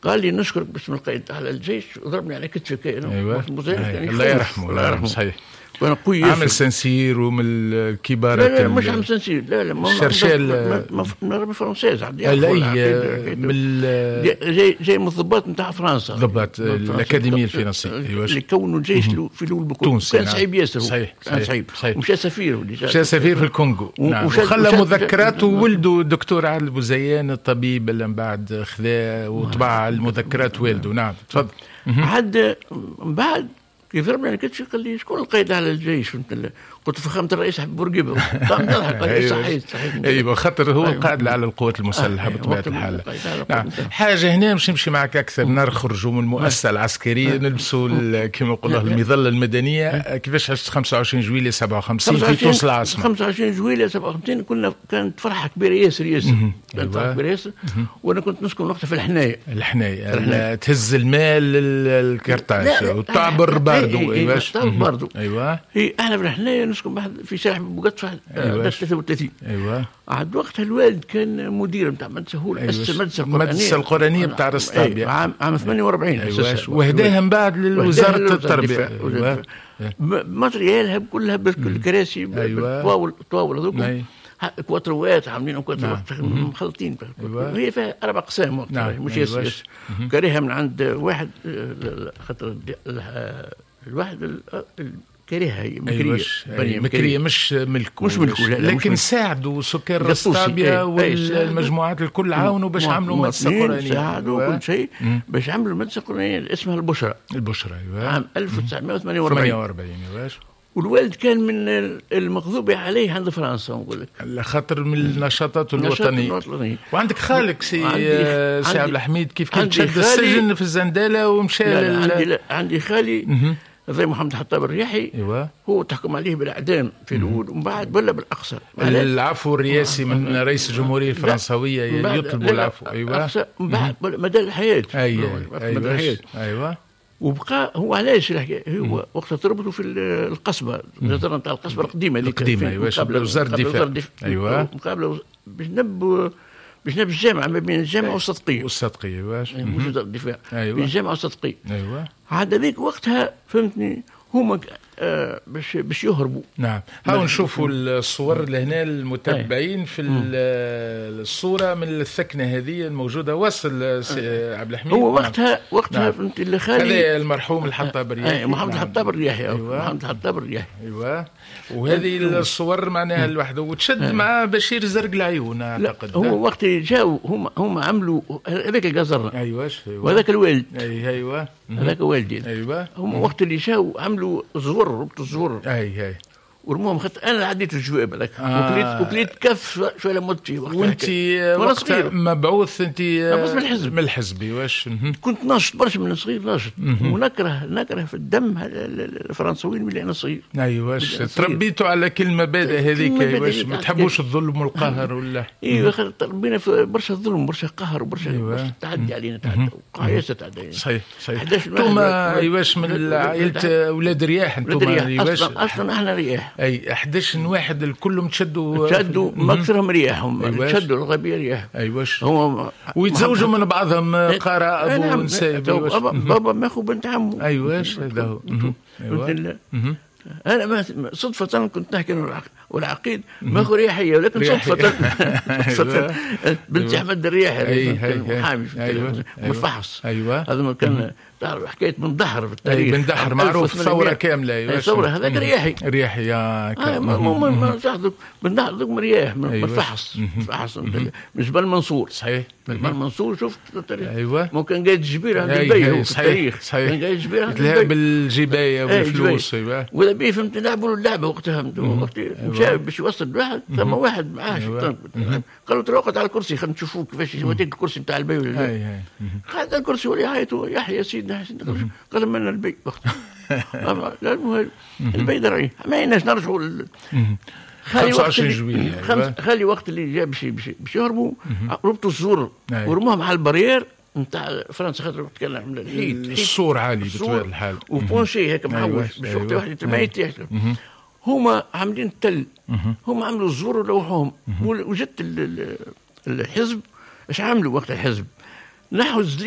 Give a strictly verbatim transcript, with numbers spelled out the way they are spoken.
قال لي نشكرك باسم القائد على الجيش وضربني على كتفي. ايوه أيوة. الله يرحمه، الله يرحمه، صحيح. وانا قوي عامل سنسير ومن الكبارات. لا لا، مش عامل سنسير، لا لا. شرشال. من française. لا، من جاي جاي من الضباط نتاع فرنسا. ضباط الاكاديمية الفرنسيه. ايوه، اللي كونوا الجيش في الاول بكل. تونسي. كان صعيب ياسر. صحيح. كان صعيب، صحيح. ومشى سفير. مشى سفير في الكونغو، نعم. وخلى مذكراته وولده الدكتور عادل بوزيان الطبيب اللي من بعد خذا وطبع المذكرات والده. نعم، تفضل. عاد من بعد كيف ضربني على كتفي قال لي شكون القائد على الجيش؟ فهمت؟ قلت فخامة الرئيس بورقيبة. قام ضحك، قال لي صحيح صحيح. ايوه، خاطر هو أيوة. القائد على القوات المسلحة آه بطبيعة الحال. نعم، حاجة هنا مش نمشي معك اكثر، نخرجوا من المؤسسة العسكريه، نلبسوا كما نقولوا المظلة المدنيه. كيفاش عشت خمسة وعشرين جويلية سبعة وخمسين في تونس العاصمه؟ خمسة وعشرين جويلية سبعة وخمسين كنا كانت فرحه كبيرة ياسر ياسر، كانت فرحه كبيرة ياسر. وانا كنت نسكن وقتها في الحنايه. الحنايه، تهز المال للكرتاج وتعبر باردو. ايوه، تعبر باردو. ايوه هي احنا في الحنايه نسكن في شارع بوقطفة. أيوة. ثلاثة وثلاثين. ايوه عاد وقتها الوالد كان مدير نتاع مدرسه، هو أيوة. اسس المدرسة القرانيه. المدرسة القرانية بتاع رسطابيا. عام عام ثمانية وأربعين. أيوة. وهداها من بعد لوزارة التربيه. أيوة. matériel ها كلها، بالكراسي، بالطواول، الطواول هذوك، أيوة. كواتروات عاملين كواتروات نعم. مخلطين. أيوة. هي فيها اربع اقسام وقتها. نعم. مش أيوة. ياسر. كاريها من عند واحد، خاطر الواحد كاريها هي مكريه. أيوة. مكريه مش ملكه. مش ملكه، لا. لكن مش ساعدوا سكان رسطابيا والمجموعات الكل، عاونوا باش عملوا مدرسه قرانيه. ساعدوا كل شيء باش عملوا المدرسة القرانية اسمها البشرى. البشرى، ايوه. عام ألف وتسعمية وثمانية وأربعين. ثمانية وأربعين، ايوه. والوالد كان من المغضوب عليه عند فرنسا، نقول لك. خاطر من النشاطات الوطنيه. الوطنية. وعندك خالك سي سي عبد الحميد كيف كيف شد السجن في الزنداله ومشى. لا لا، عندي لا، عندي خالي زي محمد حطاب الرياحي. ايوه هو تحكم عليه بالاعدام في الاول ومن بعد ولا بالاقصى. العفو الرئاسي من رئيس الجمهورية الفرنسويه، يطلبوا العفو، ايوه. من بعد مدى الحياه. ايوه مدى الحياه. ايوه وبقى هو علاش الحكاية؟ هو وقت تربطوا في القصبه، النظرة نتاع القصبة القديمه. القديمه، ايوه، وزارة الدفاع، ايوه، مقابله بجنب بجنب الجامعه، ما بين الجامعة والصدقيه. والصدقيه، ايوه. مش وزارة الدفاع. ايوه بين الجامعة والصدقيه. ايوه عاد هذيك وقتها، فهمتني، هما آه باش باش يهربوا. نعم، هاو نشوفوا الصور لهنا المتابعين في الصورة من الثكنه هذه الموجوده. وصل سي عبد الحميد. هو وقتها نعم. وقتها نعم. فهمت اللي خالي هذا المرحوم الحطاب الرياحي. محمد نعم. الحطاب الرياحي. أيوة. محمد الحطاب الرياحي. ايوه، وهذه الصور معناها الوحده، وتشد مع بشير زرق العيون اعتقد. هو وقت جاوا هم هم عملوا هذاك ال caserne. ايوه ايوه وهذاك الوالد. اي ايوه هذاك والدي. ايوه هم وقت اللي جاوا عملوا زور، ربطوا الزور. اي اي ورموهم، خاطر انا عديت الجواب هذاك آه. وكليت وكليت كف شوية مت فيه. وانت وقت مبعوث انت؟ مبعوث من الحزب. من الحزب، واش. كنت ناشط برشا من صغير، ناشط ونكره نكره في الدم الفرنسويين من انا صغير. ايوا، تربيتوا على كل المبادئ هذيك، ايوا، ما تحبوش الظلم والقهر ولا؟ ايوا، تربينا في برشا ظلم، برشا قهر، وبرشا أيوة. تعدي علينا، تعدي ياسر تعدي علينا. صحيح صحيح. انتم ايواش من عائلة اولاد رياح انتم؟ ايواش، اصلا اصلا احنا رياح. اي، أحد عشر واحد الكلهم تشدوا. تشدوا، ما اكثرهم رياحهم. أيواش. تشدوا الغالبية رياح. ايواش هو ويتزوجوا من بعضهم قراء نعم. ونسايب. بابا بابا ماخو بنت عمه. ايواش، هذا هو. ايوه، انا ما صدفة كنت نحكي والعقيد ماخو رياحية، ولكن صدفة صدفة بنت احمد الرياحي محامي أيوة. مفحص. ايوه هذا كان تعرف حكاية بن دحر في التاريخ. بن دحر معروف، ثورة كاملة. ايوه، ثورة، هذاك رياحي. رياحي يا آه ما ما ما بن دحر ذوك رياح من فحص فحص من جبل منصور. صحيح جبل منصور، شفت التاريخ؟ ايوه. ممكن قايد جبير عند البي هو في التاريخ. صحيح. كان قايد جبير عند البي بالجبايه والفلوس. ايوه، ولا بيه، فهمت، لعبوا اللعبة وقتها، وقت مشى باش يوصل الواحد، ثم واحد معاه شيطان قالوا ترى على الكرسي، خلينا نشوفوه كيفاش يوديك الكرسي نتاع البي ولا لا. قعد على الكرسي ولا يعيطوا يحيى سيدنا سيدنا، قال من البي وقتها؟ لا، المهم البي درعي ما يناش نرجعوا. خالي وقت اللي خالي وقت اللي جا باش باش يهربوا، ربطوا الزور ورموهم على ال barrière نتاع فرنسا، خاطر تكلم الحيط. السور عالي بطبيعة الحال. و penché هيك معوج باش وقت واحد ما يتيح. هما عاملين التل، هما عملوا الزور ولوحوهم. وجدت الحزب ايش عملوا وقت الحزب؟ نحوا الزليز.